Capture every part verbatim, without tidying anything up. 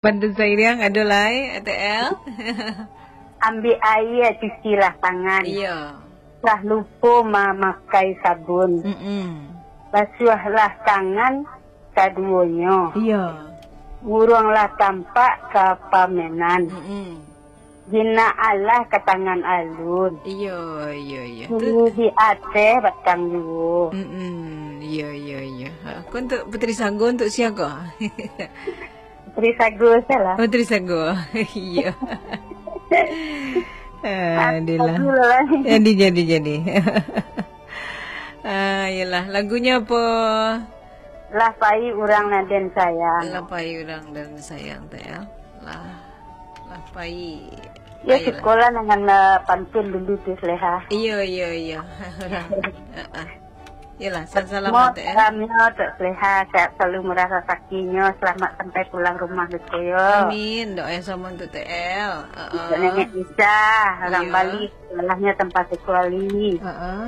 Bantu sairiang, ado lai, A T L? Ambiak aia, cucilah tangan. Iyo. Lah lupo mamakai sabun. Mm-mm. Basuahlah tangan kaduonyo. Iyo. Buruanglah tampak ka pamenan. Mm-mm. Jinak alah ka tangan alun. Iyo, iyo, iyo. Tu Tinggi di ateh batang juo. Mm-mm. Iyo, iyo, iyo. Ha, ko untuk Puteri Sago, untuk sia ko? Puteri Sago salah. Puteri Sago. Iyo. Ah, Aduh lah. Jadi, jadi, jadi. Ah, iyalah. Lagunyo apo? Lah pai urang nan den sayang. Lah pai urang nan den sayang, T L. Lah, lah pai. Ya, Ayolah. Sukolah dengan, eh, pantun dulu tu, Saleha. Iyo, iyo, iyo. Heeh. Iyalah, salam-salam, Mo, T L. Salamnyo, Tok Saleha, sehat selalu murah rasakinyo, selamat sampai pulang rumah, gitu yo. Amin. Doa yang sama untuk T L. Heeh. Untuk Nenek Isa, orang Iyo. Bali, sekolahnya tempat sekali. Heeh.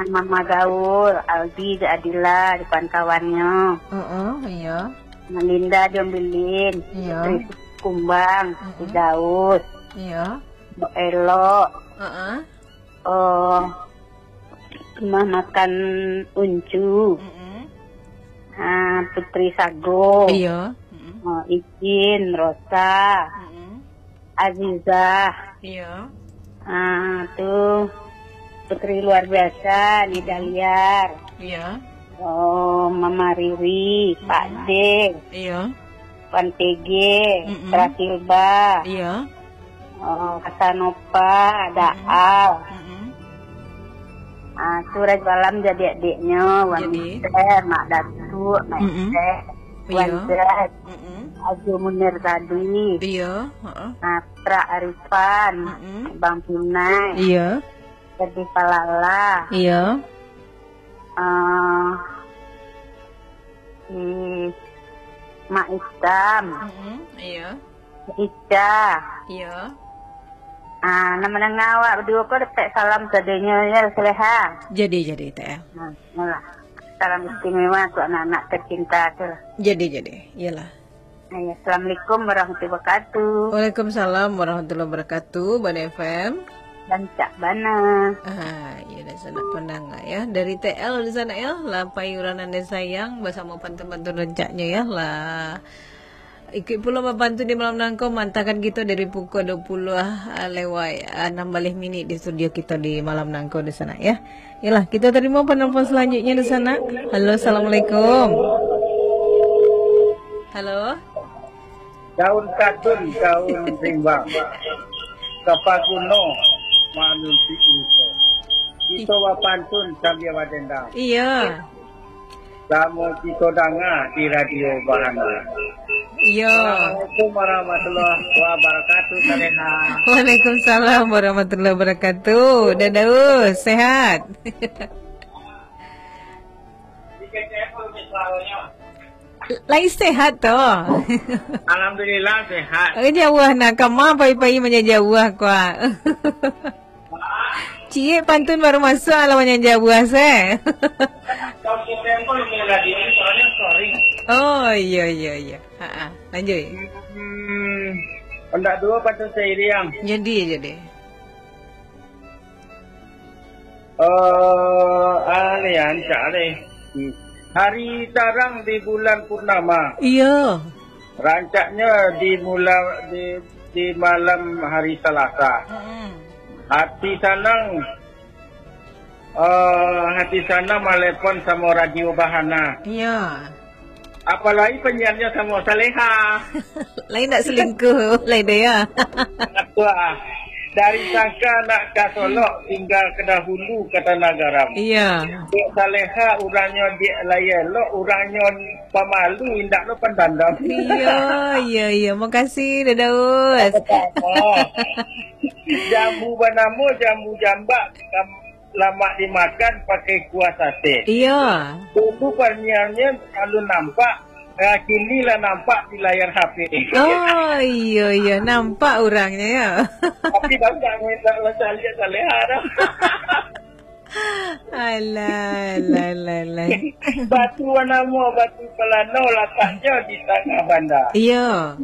Mama Gaul, Aldi, Adila, di kawan-kawannyo. Heeh, iyo. Melinda, Jombilin, Iyo. Putri Kumbang, Mm-mm. Firdaus, Iyo. Mbok Elok, Heeh. oh, rumah makan Uncu, Mm-mm. ah, Putri Sago, Iyo. Mm-mm. oh, Icin, Rosa, Mm-mm. Azizah. Iyo. Ah, tu Putri luar biasa, Nida Liar. Iyo. Oh, Mama Riri, Pak Mm-mm. De, Iyo. Pan P G, Mm-mm. Prasilba. Iyo. Oh, Kasanova, Mm-mm. Daal. Mm-mm. Ah, tu Rajo Alam jadi adiknyo, Wan Jadi. Mister, Mak Datuk, Mak Mm-mm. Tek, Wan Iyo. Zat, Mm-mm. Ajo Munir tadi. Iyo, heeh. Ah, Putra Arifan, Mm-mm. Bang Pinai, Iyo. Ferdie Palala. Iyo. Ah, si Mak Itam, Mm-mm. Iyo. Ica. Iyo. Ah, nan mandanga awak baduo ko dapek salam sadonyo, ya, Saleha. Jadi, jadi, T L. Nah, itulah. Salam istimewa untuk anak-anak tercinta tu lah. Jadi, jadi. Iyalah. Nah, ya, Assalamualaikum warahmatullahi wabarakatuh. Waalaikumsalam warahmatullahi wabarakatuh, Bani F M. Rancak bana. Ah, iya, dah sanak pandanga, ya. Dari T L di sana, ya. Lah pai urang nan disayang, basamo pantun-pantun rancaknyo, ya. Lah. Ikuik pulo bapantun di malam nangko, maantakan kito dari pukua dua puluh, ah, lewat, ah, anam baleh minik di studio kito di malam nangko di sana, ya. Yalah, kito tarimo penelpon selanjutnya di sana. Halo, assalamualaikum. Halo. Daun katun, daun rimbang. Kapaguno manunti iso. Kito bapantun sambia badendang. Iya. Samo kito danga di Radio Bahana. Iya. Assalamualaikum warahmatullahi wabarakatuh, Saleha. Waalaikumsalam warahmatullahi wabarakatuh. Dadaus, sehat? Lai sehat tu. Alhamdulillah, sehat. Eh, jauah nah, kama pai-pai manyajauah kua. Ciek pantun baru masuak, alah manyajauah se. Oh, iya, iya, iya. Ha, ha. Lanjut. Hmm, pendak dua pantun seiring. Jadi, jadi. Eh, ah, ni rancak ni. Hmm. Hari tarang di bulan purnama. Iya. Rancaknya di mula-, di, di malam hari Salasa. Mm-mm. Hati sanang, eh, hati sanang malepon samo Radio Bahana. Iya. Apalagi penyiarnya samo Saleha. Lain nak selingkuh, lain dia. Wah, dari Sangka nak ka Solok, tinggal ke dahulu ke Tanah Garam. Iya. Dek Saleha, urangnyo dek lai elok, urangnyo pamalu, indak lo pandandam. Iya, iya, iya. Makasih, Dadaus. Sama-sama. Jambu banamo jambu jambak, kam-, lamak dimakan pakai kuah sate. Iya. Dulu parniangnyo lalu nampak, ah, kini lah nampak di layar H P. Oh, iya, iya. Nampak urangnya, ya. Tapi tahu tak, minta macam lihat Saleha dah. Alah, alah, alah, alah. Batu banamo Batu Palano, lataknyo di tangah banda. Iyo.